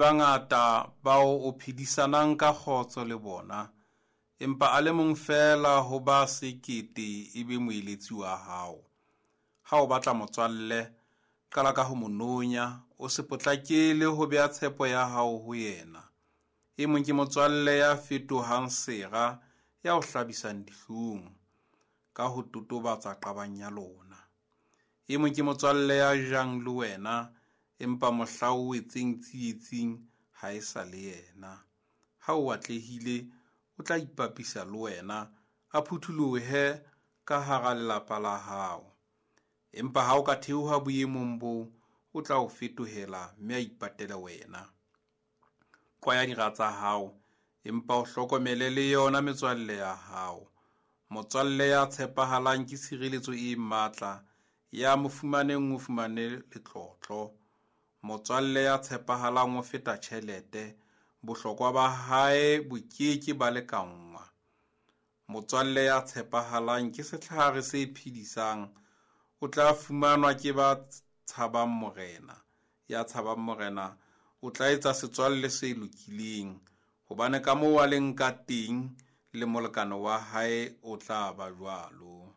Bangata bao o phedisanang ka kgotso le bona, empa a le mong feela ho ba 1000 e be moeletsi wa hao. Ha o batla motswalle, qala ka ho mo nonya, o se potlakele ho bea tshepo ya hao ho yena. E mong ke motswalle ya fetohang sera, ya o hlabisang dihlong, ka ho totobatsa qabang ya lona. E mong ke motswalle ya jang le wena, empa mohla o wetseng tsietsing ha e sa le yena. Ha o atlehile, o tla ipapisa le wena, a phutholohe ka hara lelapa la hao. Empa ha o ka theoha boemong boo, o tla o fetohela, mme a ipatele wena. Qwaya dira tsa hao, empa o hlokomele le yona metswalle ya hao. Motswalle ya tshepahalang ke tshireletso e matla, ya mo fumaneng o fumane letlotlo. Motswalle ya tshepahalang o feta tjhelete, bohlokwa ba hae bo ke ke ba lekanngwa. Motswalle ya tshepahalang ke setlhare se phedisang, o tla fumanwa ke ba tshabang Morena. Ya tshabang Morena o tla etsa setswalle se lokileng, hobane ka moo a leng ka teng le molekane wa hae o tla ba jwalo.